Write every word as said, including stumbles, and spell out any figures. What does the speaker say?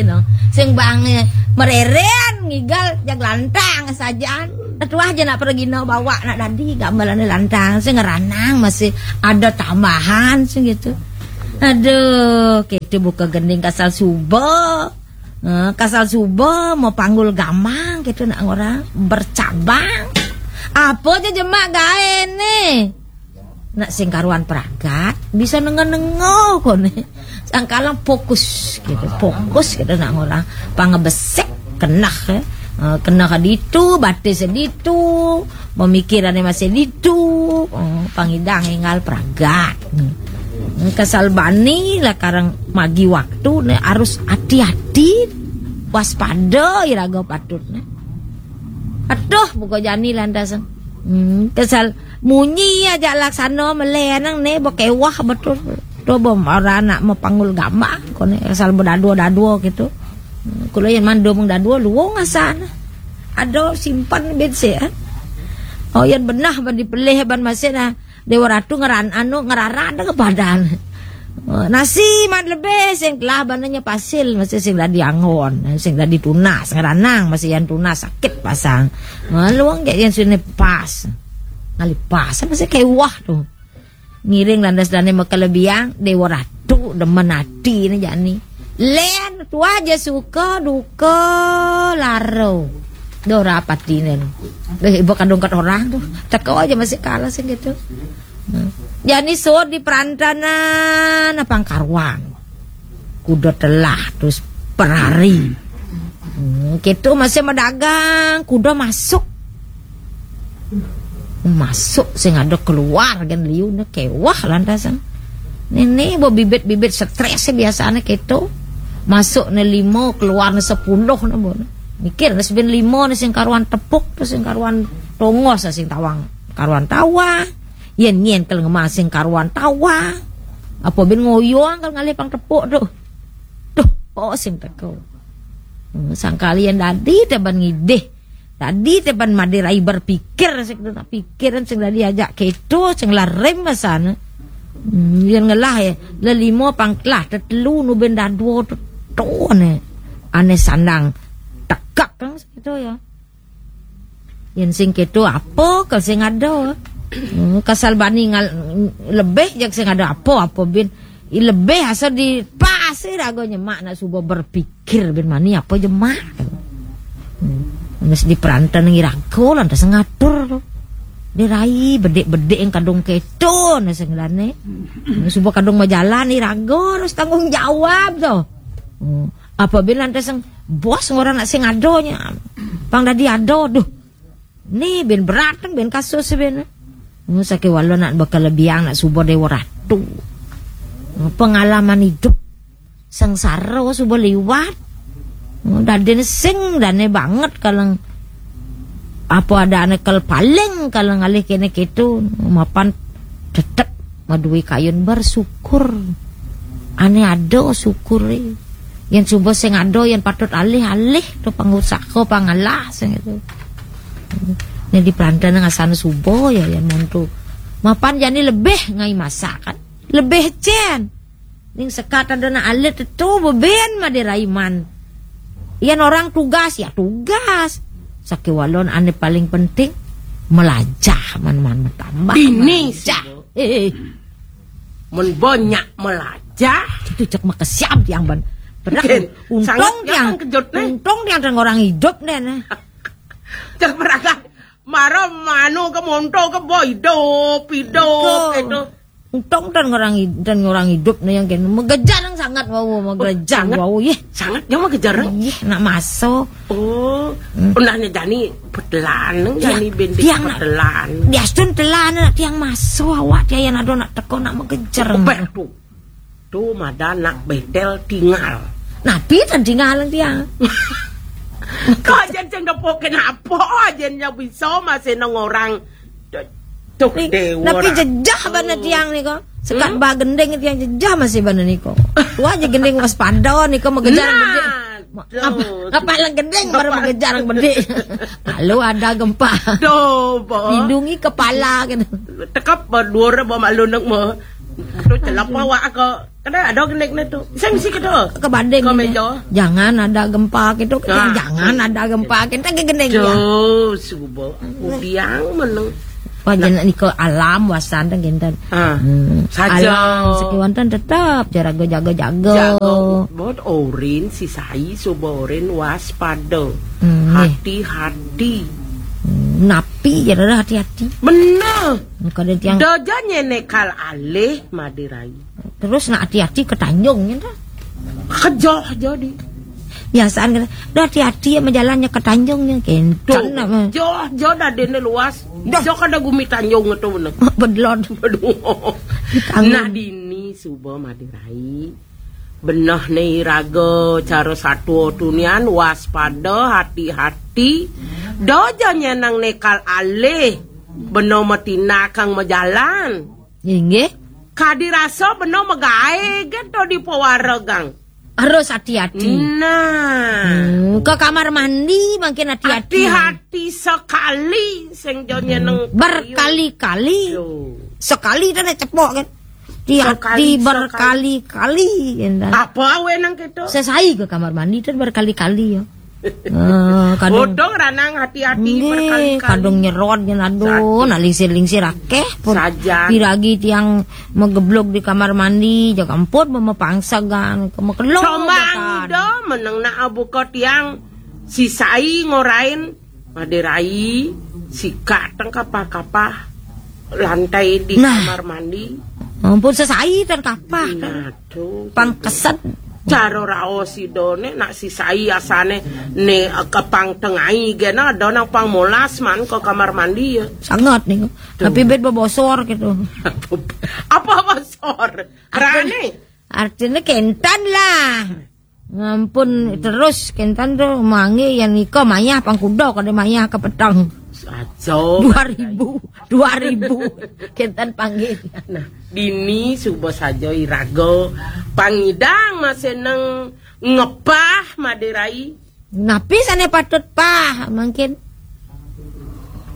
No. Sing bang, eh, mereren ngigal jag lantang sajaan. Tetuah aja nak pergi no bawa nak dadi gambalannya lantang. Sing ngeranang masih ada tambahan sing gitu. Aduh, kita buka gending kasal suba. Eh, kasal suba mau panggul gamang gitu nak orang bercabang. Apa aja jemak gae nih? Nak sing karuan pragat bisa nengah-nengah kone. Sangkalang fokus gitu, fokus gitu nak orang pangebesek kena, eh. Eh, kena ke ditu, batis ditu, pemikirannya masih ditu, eh, pangidang enggal pragat. Hmm, kesal bani lah karang magi waktu nih harus hati-hati, waspada iraga patut nih. Aduh, buka jani lantasan. Hmm, kesal munyi aja laksana melenang nih bekewah betul. Tuh bom orang anak mau panggul gamang kone kesal berdadua-dadua gitu. Hmm, kalau yang mandum dadua luwung asana. Ada simpan bensin, eh. Oh, yang benah ban dipelih ban masih nah. Dewa Ratu ngeran anu ngerara ada kepadan. Eh, nasi man lebih sing telah bananya pasil masih sing dadi angon, sing dadi tunas ngeranang masih yang tunas sakit pasang. Eh, luang kayak yang sini pas. Ngali pas masih kayak wah tuh. Ngiring landas dane mekelebiang Dewa Ratu demen ati ne jani. Len tuah aja suka duka laro. Dora patinen. Eh, ibu kadung kat orang tuh. Teko aja masih kalah sih gitu. Hmm. Jani sur di perantanan apa karuan. Kuda telah terus perari. Hmm, gitu masih medagang, kuda masuk. Masuk sing ada keluar kan liu ne kewah lantasan. Nene bo bibit-bibit stres biasanya gitu. Masuk ne lima, keluar ne sepuluh ne bo. Mikir ne seben lima ne sing karuan tepuk tuh sing karuan tongos sing tawang. Karuan tawa. Yen nyen kel ngemasing karuan tawa. Apa ben ngoyong kal ngalih pang tepuk tuh. Tuh, oh sing teko. Hmm, sangkali yang dadi teban ngidih. Tadi teban madirai berpikir sing nak pikiran sing dadi ajak keto sing larem masana. Hmm, yang ngelah ya, lelimo pangklah tetelu nuben dadwo tetone. Ane sandang tekak kan gitu ya. Yang sing keto apa ke sing ada? Hmm, kasal bani ngal, lebih jak sing ada apa-apa bin. I lebih asal di pasir ago nyemak nak suba berpikir bin mani apa jemak. Hmm. Nes di perantan nang irago lantas ngatur tu. Dirai bedik-bedik yang kadung keto nasi ngelane. Suba kadung majalan irago harus tanggung jawab tu. Hmm. Apa bin lantas yang bos orang nak sing adonya. Pang dadi ado duh. Ni bin berat kan bin kasus bin. Hmm, sake wala nak bakal lebiang nak suba Dewa Ratu. Hmm, pengalaman hidup sengsara suba liwat. Hmm, dadin sing dane banget kalang apa ada ane kal paling kalang alih kene keto mapan tetep madui kayun bersyukur. Ane ada syukuri. Yang suba sing ada yang patut alih-alih tu pangusaha pangalah sing itu. Yang di perantan ngasana suba ya yang montu. Mapan jani lebih ngai masakan. Lebih cen. Ning sekat ada nak alit tu beben made raiman. Yang orang tugas ya tugas. Sakewalon ane paling penting melajah man-man tambah. Ini melajah. Eh, eh. Mun banyak melajah. Itu cek makesiam tiang ban. Berak. Ken, untung sangat tiang jangan kejut, nih. Untung tiang dan orang hidup nih, nih. Cek berakan. Mara mano ke monto ke boy hidup, hidup. Betul. Itu. Untung dan orang hid-, dan orang hidup nih yang kena megejar yang sangat wau megejar sangat. Wau yeh. Sangat yang megejar. Yeh nak masuk. Oh, hmm. Unahnya jani petelan neng ya, jani bintik tiang nak petelan. Dia sun telan nak tiang masuk awak dia yang ada nak teko nak megejar. Obeh tu. Tu mada nak betel tinggal. Napi tan tinggal tiang. Kau aja sing depok kenapa aja yang bisa masih nang orang. Tuh, ni, dewa tapi ratu. Jejah bana tiang ni ko. Sekat hmm? Ba gending tiang jejah masih bana ni ko. Tu aja gending waspada ni ko megejar nah, gending. Tuh. Ngapa, ngapa lah gending baru megejar gede. Lalu ada gempa. Tuh, bo. Lindungi kepala kan. Tekap berdua ba malu nak mo. Tu celapa wak ko. Kada ada gendekne tu. Sing si kedo. Kebanding Ke ini. Meja. Jangan ada gempa gitu. Nah. Jangan ada gempa gitu. Kan gending ya. Tuh, suba. Udiang meneng. Wah, jeneng nika alam wasan teh kinten. Ah. Hmm. Saja. Alam sekiwanten tetep jaraga jaga-jaga. Jaga buat orin si sai suba orin waspada. Hmm, nih. Hati-hati. Hmm, napi jaraga hati-hati. Bener. Kada tiang. Daja nyenekal alih madirai. Terus nak hati-hati ke Tanjung gitu. Kejoh jadi. Biasaan kata, "Dah hati-hati ya jalannya ke Tanjung nih." Tuh, kenten nama. Joh, joh dadene luas. Dah. Joh kada gumi Tanjung itu bener. Bedlon. Aduh. Tanjung. Nah dini suba madirai. Beneh ne iraga cara satua tunian waspada hati-hati. Doja nyenang nekal alih. Beno matinakang majalan. Inggih. Kadi rasa beno magae get to di pewaregang. Harus hati-hati. Nah. Hmm, ke kamar mandi makin hati-hati. Hati-hati sekali sing jo nyeneng. Berkali-kali. Yo. Sekali tu nak cepok kan. Hati-hati sekali, sekali. Berkali-kali. Kan. Apa awe nang keto? Sesai ke kamar mandi tu berkali-kali ya. Ah, kadung. Bodong ranang hati-hati. Nggih, berkali-kali. Kadung nyerot yen aduh, nak lingsir-lingsir akeh pun. Sajan. Piragi tiang megeblok di kamar mandi, jaga ampun memepangsagan, kemekelong. Combang ida meneng nak buka tiang sisai ngorain madirai sikak teng kapah-kapah lantai di nah. Kamar mandi. Ampun sesai dan kapah. Nah, Pangkeset. Cara raos idone nak sisai asane ne kepang tengai gena ada nang pang molas man ke kamar mandi ya. Sangat nih. Tuh. Tapi bet bebosor gitu. Apa bosor? Rane. Artinya kentan lah. Ngampun terus kentan tuh mangi yang nika mayah pang kuda kada mayah ke petang. Saja. Dua ribu. Dua ribu. Kentan panggil. Nah, dini suba saja iraga pangidang masih neng ngepah madirai. Napi sane patut pah mangkin?